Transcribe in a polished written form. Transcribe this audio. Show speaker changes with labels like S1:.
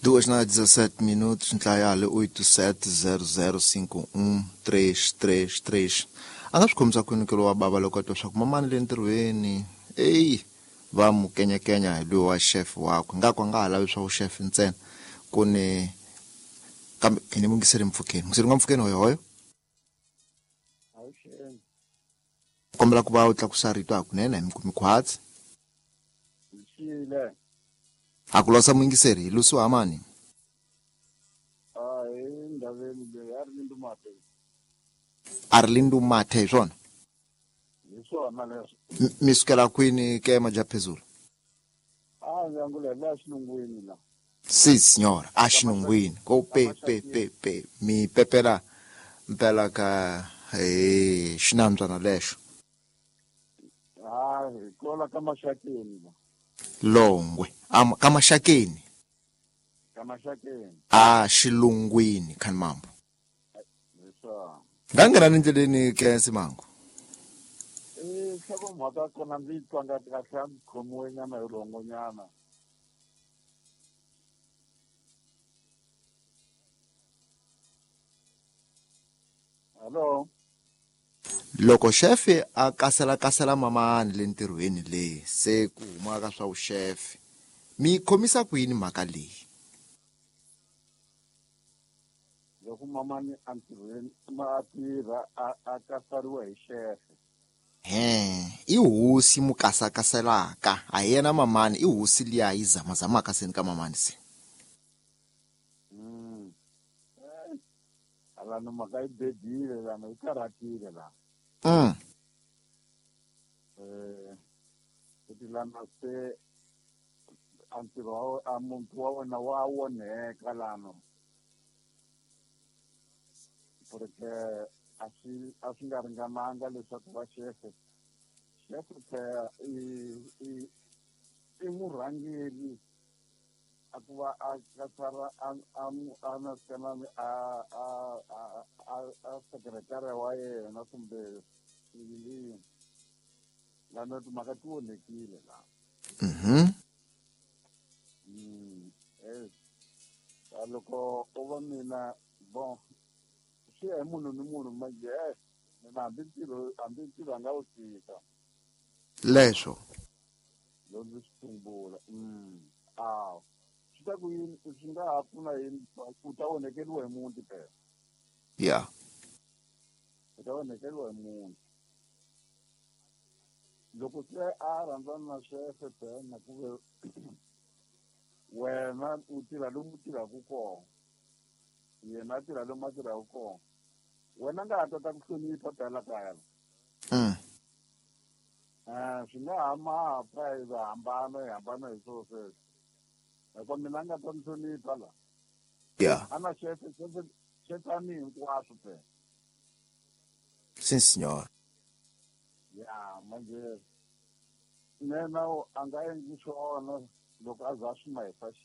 S1: 2 na 17 minutos, ntlayale 870051333. A nga swi khomisa kwini ke lowa bava loko a twa swa ku mamani le ntirhweni eyi va mu kenyakenya hi loyi wa chef wakwe, nga ku a nga ha lavi swa vuxefe ntsena ku ni kambe hi ni mungiseri mpfhukeni mungiseri nga mpfhukeni hoyohoyo.
S2: Avuxeni.
S1: Kombela ku va u tlakusa rito hakunene hi mi kumi khwatsi.
S2: Xile.
S1: A ku losa muyingiseri hi lusiwa hamani.
S2: A hi ndhaveni leyi a ri Lindumate.
S1: A ri Lindumathe hi swona?
S2: Hi swona leswo.
S1: Mi sukela kwini ke majaphezulu?
S2: A ndzi angula hi laha xilungwini la.
S1: Si signora, a xilungwini ko pe pe pe pe mi pepela mpela ka he xinambyana lexo.
S2: Ha hi kola ka Maxakeni la.
S1: Longwe ka Maxakeni.
S2: Ka Maxakeni.
S1: A xilungwini khani mambo.
S2: Hi swona.
S1: Nga nghena ni ndleleni ke Simango.
S2: I nhlokomhaka ya kona ndzi yi twanga kahle, a ndzi khomiwe nyana hi rhongo nyana. Hello.
S1: Loko xefe a kasela-kasela mamani le ntirhweni leyi se ku humaka swa vuxefe, mi yi khomisa ku yini mhaka leyi?
S2: Loko mamani entirhweni a tirha a kasariwa hi xefe.
S1: He, i hosi mu kasakaselaka, a hi yena mamani, i hosi liya yi zamazamaka seni ka mamani se.
S2: Alano mhaka yi bedile lana, yi karhatile la. Kuti lana se a ntirho wa a muntu wa wena wa onheka lano. Porque a swi nga ringananga leswaku va xefe. Xefe phela i murhangeri a ku va a kasara a na sikanani a sekretari wa yena kumbe yini. Lana timhaka ti onhekile la. Loko u va mina bon swi ya hi munhu ni munhu manje, mina hambi ntirho a nga wu tshika.
S1: Leswo.
S2: Loko ndzi swi tsumbula. A swi ta ku yini, swi nga ha pfuna yini, u ta onhekeriwa hi muti phela. U ta onhekeriwa hi muti. Loko se a rhandzana na xefe phela na ku ve wena u tirha lomu u tirhaka kona, yena a tirha lomu a tirhaka kona, wena nga ha tata ku hlonipha phela kaya. Swi nga ha ma pfa hi va hambana, hi hambana hi swona sweswo, hikuva mina a nga ta ni hlonipha la. A na xefe, xefe xefe a ni hinkwaswo phela.
S1: Si signora.
S2: Ya manje nena a nga endli swona loko a za a swi ma hi fashion.